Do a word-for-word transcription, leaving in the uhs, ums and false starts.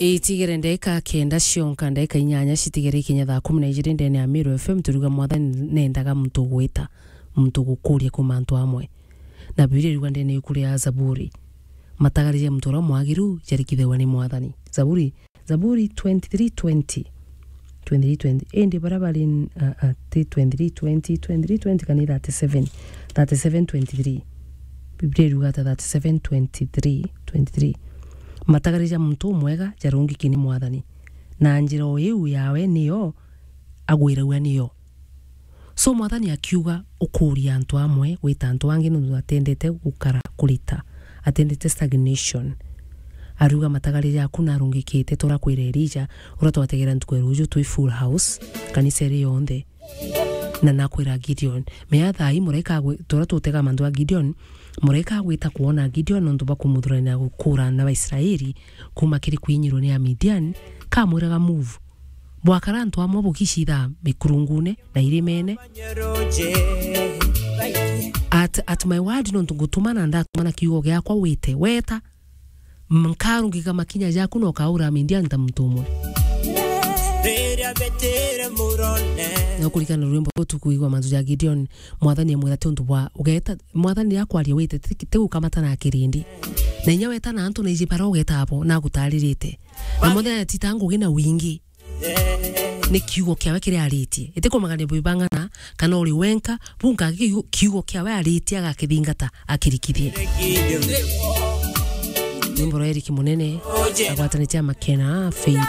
Itigere ndagika kenda cionka, ndagika inyanya citigere ikinya thaa kumi na ijiri ndene ya Meru F M, turuga Mwathani nendaga muntu ugwita, muntu ugukuria kuuma antu amwe. Na Biblia iruga ndene yuku ria Zaburi, matagari ja muntu uria mwagiru jarikithagwa ni Mwathani. Zaburi, Zaburi twenty-three twenty. Twenty-three twenty. Indi baria bari n-, a, a, ti twenty-three twenty, twenty-three twenty kana i thirty-seven, thirty-seven twenty-three. Biblia iruga ata thirty-seven twenty-three, twenty-three? Matagari ja muntu umwega jarungiki ni Mwathani, na njira o iu yawe niyo agwiragua niyo. So Mwathani akiuga, ukuria antu amwe gwita antu angi nontu atendete gukara kurita, atendete stagnation. Ariuga, matagari jaku narungikite, turakwira Elija, uria twategera ntuku ya ruju twi full house, kanisa iri yonthe. Na nakwira Gideon, mea thaa ii muraika agwi-, turia tutega mantu a Gideon, muraika agwita kwona Gideon nontu bwa kumuthurania gukura na Baisraeli kuma kiri kwinyirwo ni Amidian, kamwiraga, move. Bwakara antu amwe bukicitha mikurungune na irimene. At, at my word, nontu ngutuma na ndatuma na kiugo giakwa wite, weta, nkarungika makinya jaku na ukaura Midian ta muntu umwe. Na ukurikana rwimbo ruu tukuigua mantu ja Gideon, Mwathani amwira ti untu bwa ugeta, Mwathani akwaria wite, ti, ti gukamata na kirindi. Na inya weta na antu na iji bara ugeta abo, na agutaririte. Na Mwathani atita ngugi na wingi. Ni kiugo kiawe kiria aritie. Iti kumagania bwibang'ana kana uri wenka, bunka kiugo, kiugo kiawe aritie agakithingata, akirikithie. Nyimbo rwa Eric Munene, agwatanitie na Makena, Faith.